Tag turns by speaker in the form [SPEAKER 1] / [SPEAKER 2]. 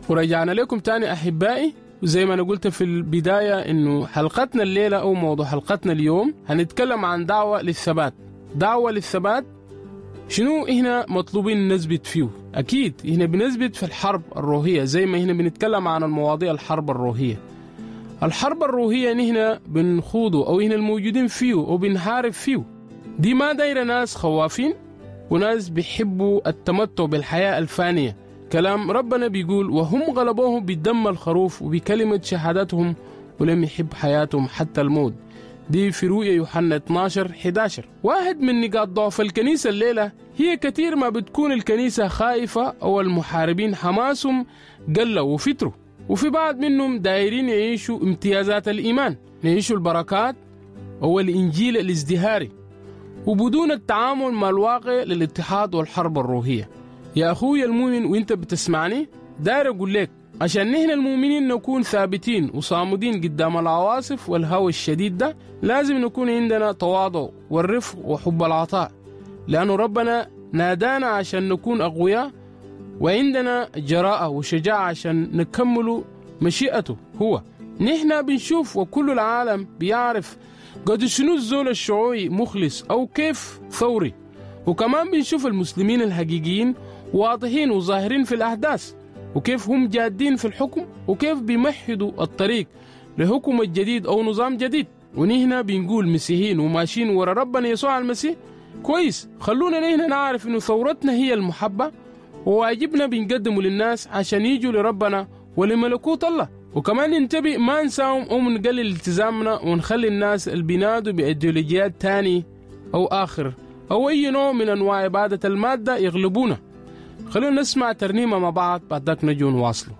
[SPEAKER 1] ورجعنا لكم تاني أحبائي. وزي ما أنا قلت في البداية إنه حلقتنا الليلة أو موضوع حلقتنا اليوم هنتكلم عن دعوة للثبات. دعوة للثبات شنو هنا مطلوبين نثبت فيه؟ أكيد هنا بنثبت في الحرب الروحية، زي ما هنا بنتكلم عن المواضيع الحرب الروحية. الحرب الروحية نحن بنخوضه أو هنا الموجودين فيه أو بنحارب فيه، دي ما دايرة ناس خوافين وناس بيحبوا التمتع بالحياة الفانية. كلام ربنا بيقول وهم غلبوهم بدم الخروف وبكلمة شهادتهم ولم يحب حياتهم حتى الموت. دي في رؤيا يوحنا 12:11. واحد من نقاط ضعف الكنيسة الليلة هي كثير ما بتكون الكنيسة خائفة أو المحاربين حماسهم قلوا وفتروا، وفي بعض منهم دايرين يعيشوا امتيازات الإيمان، يعيشوا البركات أو الإنجيل الازدهاري، وبدون التعامل مع الواقع للاتحاد والحرب الروحية. يا أخوي المؤمن وانت بتسمعني، داير أقول لك عشان نحن المؤمنين نكون ثابتين وصامدين قدام العواصف والهوى الشديد ده، لازم نكون عندنا تواضع والرفق وحب العطاء، لأنه ربنا نادانا عشان نكون أقوياء وعندنا جراءة وشجاعة عشان نكمل مشيئته هو. نحن بنشوف وكل العالم بيعرف قد شنو الزول الشعوعي مخلص أو كيف ثوري، وكمان بنشوف المسلمين الحقيقيين واضحين وظاهرين في الأحداث، وكيف هم جادين في الحكم، وكيف بيمهدوا الطريق لحكم الجديد أو نظام جديد. ونحن بنقول مسيحيين وماشيين ورا ربنا يسوع المسيح. كويس، خلونا نحن نعرف إنه ثورتنا هي المحبة، وواجبنا بنقدمه للناس عشان يجوا لربنا ولملكوت الله. وكمان ننتبه ما نساوم أو نقلل التزامنا ونخلي الناس اللي بينادوا بإيديولوجيات تاني أو آخر أو أي نوع من أنواع عبادة المادة يغلبونا. خلونا نسمع ترنيمة مع بعض، بعد ذاك نجوا نواصله.